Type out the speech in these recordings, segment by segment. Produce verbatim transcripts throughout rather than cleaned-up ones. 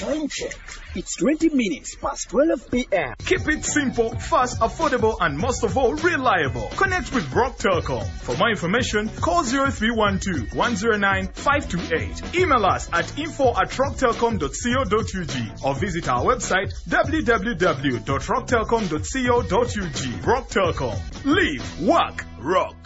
Time check. It's twenty minutes past twelve p m. Keep it simple, fast, affordable, and most of all, reliable. Connect with Rock Telcom. For more information, call zero three one two one zero nine five two eight. Email us at info at rocktelcom dot co dot U G or visit our website w w w dot rocktelcom dot co dot U G. Rock Telcom. Live, work, rock.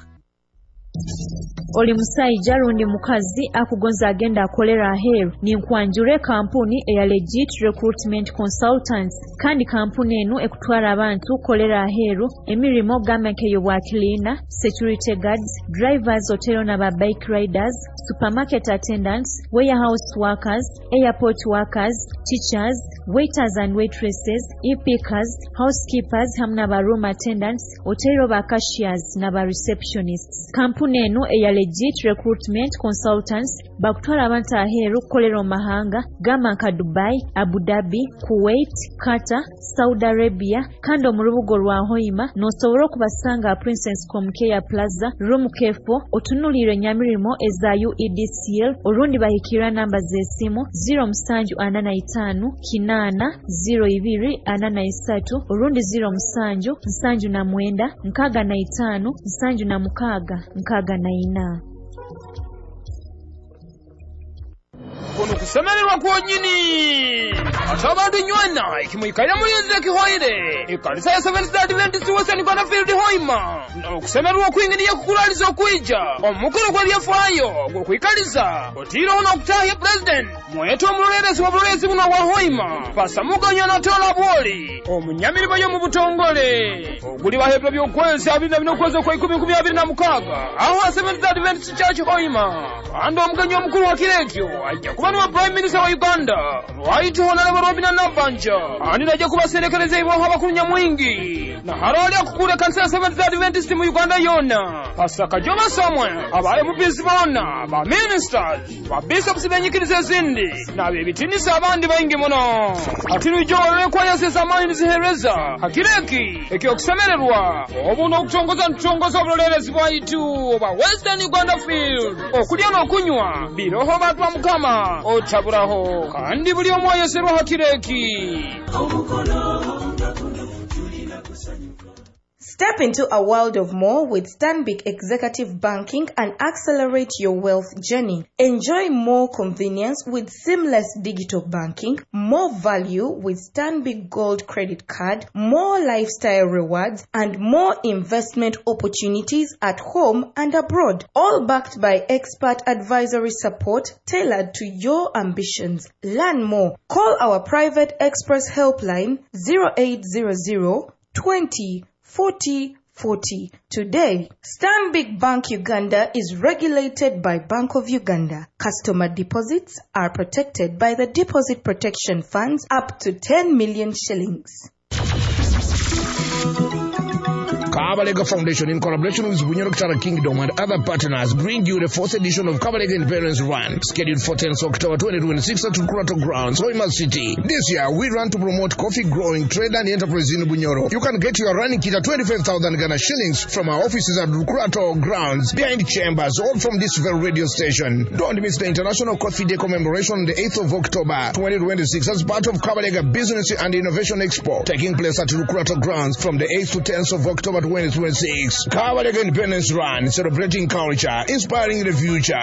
Oli musaija rundi mukazi akugonza agenda akolera aheeru, ninkwanjura kampuni eya Legit Recruitment Consultants. Kandi kampuni enu ekutwara abantu kukolera aheeru emirimo gamba nk'ey'obwa cleaner, security guards, drivers, otero n'aba bike riders, supermarket attendants, warehouse workers, airport workers, teachers, waiters and waitresses, e-pickers, housekeepers hamu n'aba room attendants, otero ba cashiers n'aba receptionists. Kampuni enu eya Legit Recruitment Consultants bakutwara abantu aheeru kukolera omu mahanga gamba nka Dubai, Abu Dhabi, Kuwait, Qatar, Saudi Arabia. Kandi omu rubuga rwa Hoima n'osobora okubasanga Princess Comcare Plaza, room K four, otunuliire nyamirimo eza U E D C L, orundi bahikirra namba z'esimu zero musanju ana na itaano kinaana zero ibiri ana na isatu orundi zero musanju nsanju na mwenda nkaaga na itaano nsanju na mukaaga nkaaga na ina. Kuno kusemererwa kwonyini ate abantu nywana ekimwikalira mulinzi ekihoire ekanisa ya Seventh Adventist Western Uganda Field Hoima okusemererwa okwingiriye kukulaliza okwija omukolo gw'ebyafaayo gw'okwikaliza otiireho n'okutahya President mwete omulolerezi wa bulolerezi buno bwa Hoima Pasamuganyo Anatola Bwoli omunyamirimo yo mu butongole oguli bahebwa by'okwezi abiri na bina okwezi okwa ikumi nkumi abiri na mukaaga aho ha Seventh Adventist Church Hoima. Kandi omugenyi omukulu wa kiro ekyo ajja kuba niwe Prime Minister wa Uganda, Right Honorable Robina Nabbanja, ani najja kubaserekereza ibwaho abakulu nyamwingi na harali akukula ekanisa ya Seventh Adventist mu Uganda yonna, Pastor Kajoma Samuel, aba M Ps bonna, ba ministers, ba bishops benyikiriza ezindi n'abebitinisa abandi baingi muno. Ati lwijo olwekwayasisa amaanyi nizihereza hakireki ekyokusemererwa obu n'okutongoza ntutongoza obulolerezi bwaitu obwa Western Uganda Field. Okulya n'okunywa biroho bantu ba Mukama otaburaho kandi buli omu ayeserwa hakireki. Step into a world of more with Stanbic Executive Banking and accelerate your wealth journey. Enjoy more convenience with seamless digital banking, more value with Stanbic Gold Credit Card, more lifestyle rewards, and more investment opportunities at home and abroad. All backed by expert advisory support tailored to your ambitions. Learn more. Call our private express helpline zero eight zero zero twenty forty forty today. Stanbic Bank Uganda is regulated by Bank of Uganda. Customer deposits are protected by the Deposit Protection Funds up to ten million shillings. Kabalega Foundation, in collaboration with Bunyoro Kingdom and other partners, bring you the fourth edition of Kabalega Independence Run, scheduled for tenth October twenty twenty-six at Kurato Grounds, Hoima City. This year, we run to promote coffee growing, trade and enterprise in Bunyoro. You can get your running kit at twenty-five thousand Ghana shillings from our offices at Kurato Grounds, behind Chambers, or from this very radio station. Don't miss the International Coffee Day commemoration on the eighth of October twenty twenty-six as part of Kabalega Business and Innovation Expo, taking place at Rukurato Grounds from the eighth to tenth of October twenty twenty-six. Kabalega Independence Run, celebrating culture, inspiring the future.